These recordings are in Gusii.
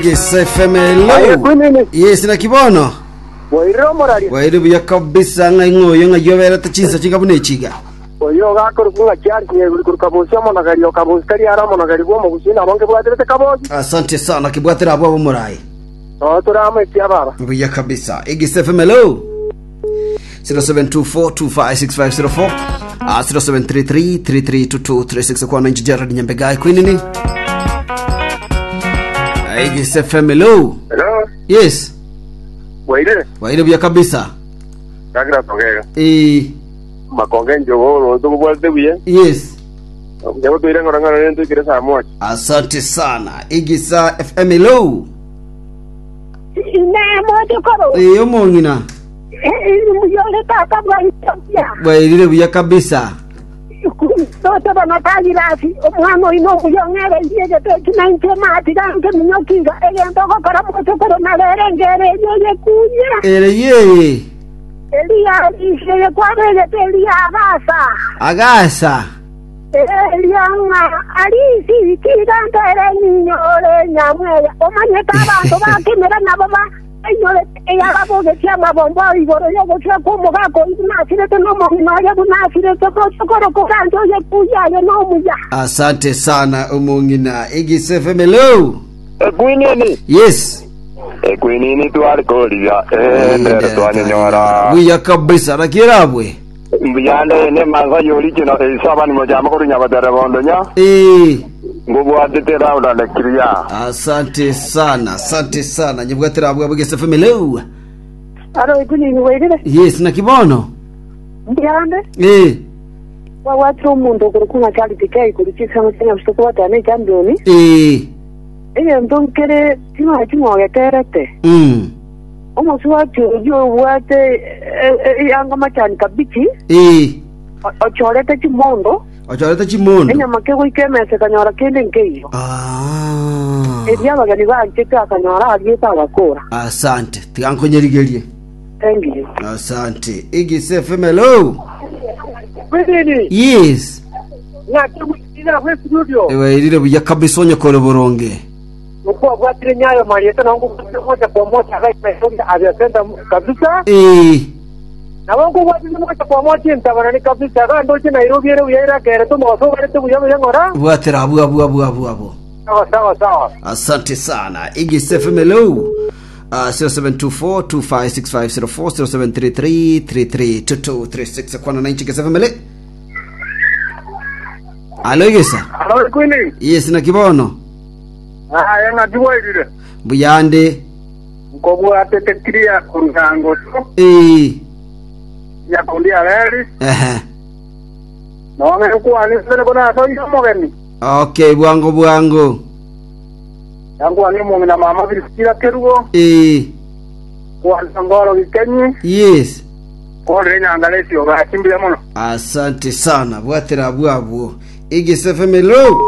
Gesa FM Aye hello. kwinini Yes naki bono. bwairire omoraria Bwaire buya kabisa ng'a ing'o oyo ng'a yoberete chinsa chinga buna echiga. oyo ogakorokwa ng'a Charles Nyeguri korwa Kabosi omonogeri o Kabosi tari are omonogeri bw'omogusi nabo nkebwaterete Kabosi Asante sana kibwatera abwo abomorai. noo tore amo ekia baba Buya kabisa. Egesa FM hello. 0724256504 ah, 0733332236 kwana inchi Gerald Nyambegai kwinini. Egesa FM hello. Hello, Yes. bwairire? Bwaire buya kabisa. Douglas Ogega. Eh, Makonge njogo tokobwate buya. yes. Nyabo toire ng'ora ng'ora rende toikire saa moja. Asante sana. Igisa FM hello. Inee, mochokoro, Eh, omong'ina. mbuya ore tata bwaito buya? Bwairire buya kabisa. Tote bono Tagirasi, omwana oino omuya ong'ereirie egete eki na inche matiga nkeminyoki iga, egento ogokora mochokoro na rero engero eyio oyekunyera. Ere yeye. Eria arisia eye kwabegete eria agasa. Agasa. Eria ng'a arisi tiga ntere nyinyore nyamweya. Omanyete abanto bakemera nabo ba Ainyorete eyarabogetie amabombo ao igoro y'ogosira kw'omogaka oyio buna asirete nomong'ina oye buna asirete, gochia korokora anche oye kuya aye nomuya. Asante sana omong'ina. Igisa FM hello. Ekwinini. Yes. Ekwinini tware korigia. Eh, ndere twanyenyora. Buya kabisa rakirabwe. Mbuyande ne mansa yorichino esaba ni mojama korunya batere bondonya. Eh. Ngobwatete round and clear. Asante sana, asante sana. Nyebwatira abwe abwe FM hello. Aro ikunini wairire Yes naki bono. mbuyande Eh. wawatire omonto okorokwa ng'a Charity K korwa chisemo chia Nyabusa kobwatana ne echampion Eh. egento nkere ching'oe ching'ogeterete Omosubati oyio obwate eanga machani kabichi, Ee. ochorete chimondo, Ochorete chimondo. enyama kegoika emesa ekanyora kende nkeiyo. Ah. Erio abageni banchete akanyora ariete agakora. Asante. Tiga nkonyerigerie. Thank you. Asante. Igise FM hello. Kwinini Yes. ng'aki gwikira bwe studio Ewairire buya kabisa onyekore boronge. Nkwabwatire nyayo marieta nabo nkobwatire moja kwa moja iga Nairobi Afya Center kabisa. Ee. Nabo nkobwatire moja kwa moja entabarani kabisa iga ndoche Nairobi ere buya erakerete omogaso obarete buya buya ng'ora. Bwatera abwo abwo abwo abwo abwo. Sawa sawa sawa. Asante sana. Igis FM hello. 0724 256504 0733 332236 kwana na inchi FM le. Alo Igisa. Alo Queen. Yes na kibono. Aye ng'aki bwairire? Mbuyande. Nkobwatete clear korwa Angoso, Ee. Nyakundi Areri, Ehe. nonye nkwane nigo nasoire omogeni. Okay, bwango bwango. Yankwane omong'ina mama Priscilla Kerubo, Ee. kwane Ngoro Gikenyi, Yes. kore enyangara esioga gaki mbuya mono. Asante sana. Bwatera abwo abwo. Igise FM hello.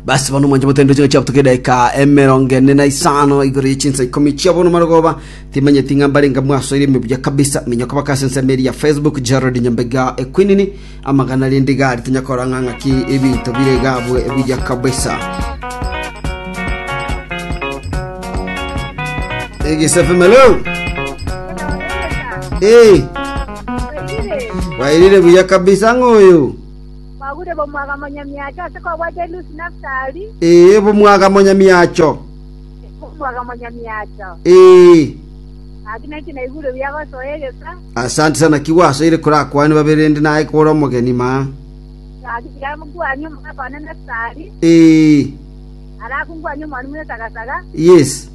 Basi bono mwanche motendo chinga chiabutoka edaika emerongo ene na isano igoro ye chinsa ikomi chia bono marogoba timanyeti ng'a mbarenga mwasoire ime buya kabisa minyoka baka ase ensemo eri ya Facebook Gerald Nyambega ekwinini amagana rende gari tonyakora ng'a ng'aki ebinto bire gabwe buya kabisa Egisa FM hello Eh wairire buya kabisa ng'oyo Mwagure bomwaga monyamiacho ase kobwate Lusi Naftali. Ee, bomwaga monyamiacho. Bomwaga monyamiacho. Ee. Gaki nainche naigure buya gosoa egesa. Asante sana ki gwasoire korakwane babere rende naye kore omogeni ma. Gaki tiga nkwanie omogaka one Naftali. Ee. Alafu nkwanie omwalimu Esagasaga. Yes.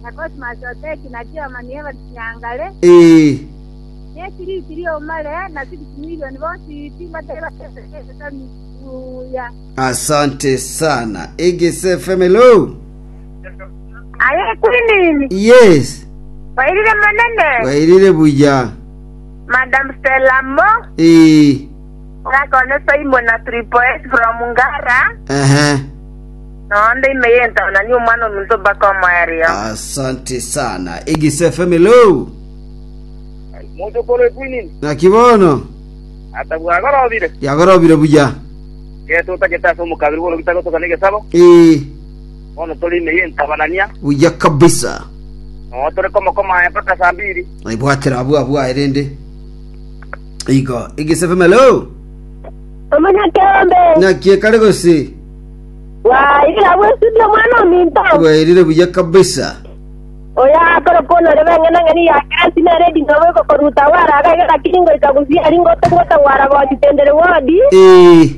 Na Cosmas Oteki na Chairman Evans Nyangare. Ee. Ne chiriti ri'omare, na 6 milioni bonsi timbateba esami buya. Asante sana. Egese FM hello. Aye Queen, Yes. wairire monene, Wairire buya. Madam Stella Mo, Ee. ngakone Simon na Triple S from Ngara, Ehe. nonde ime yentaona ni omwana ominto mpaka omoerio. Asante sana. Egese FM hello. Mochokoro ekwinini. Naki bono? Ata bwagorobire. Yagorobire buya. Geto otagete ase omokabiri bw'orogita gotoka negesabo. Ee. Bono tore ime y'entabanania. Buya kabisa. Noo tore komokomaaya mpaka saa mbiri. Naibwatera abwo abwo aye rende. Igo, Egesa FM hello. Omonyakeombe. Naki ekare gose? Wairire abwo estudio omwana ominto. Bwairire buya kabisa. Oyo akore konore beng'enang'eni ya Grace nere edini obo egokoruta waraga iga lakini ngoika gusii aria ngotogota waragochi tendere wodi. Ee.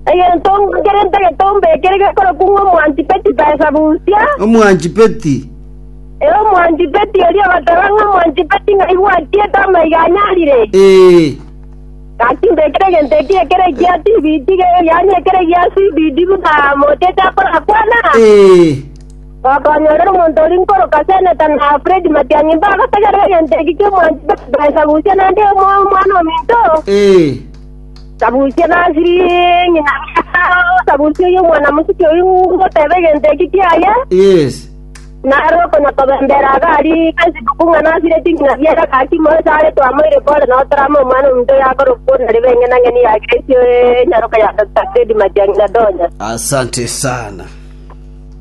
Egento nkere ntagete ombekere gekorokwa ng'a omwanchi Peti pesa busia. Omwanchi Peti. Ee, omwanchi Peti oria ogateba ng'a omwanchi Peti ng'ai gwachiete amaiga anyarire. Ee. Gaki mbekere egento eki ekere ekia TBT yaani ekere gia CBD buna mocheche akorakwana. Ee. Gokonyorera omonto oria nkoroka seneta na Fred Matiang'i mbagotegerera egento eki ki'omwanchi Peti pesa busia naende omwana ominto. Ee. Sabusia nasiri ng'ina sabusia oyio omwana mosike oyio ngoteba egento eki kiaye. Yes. Naro okonya kobembera iga aria Facebook ng'a nasireti ng'ina biara gaki moise are twamoire pole nao torame omwana ominto oyo akorokwa onarebe eng'enang'eni ya Grace enyaroka ya Doctor Fred Matiang'i na Donya. Asante sana.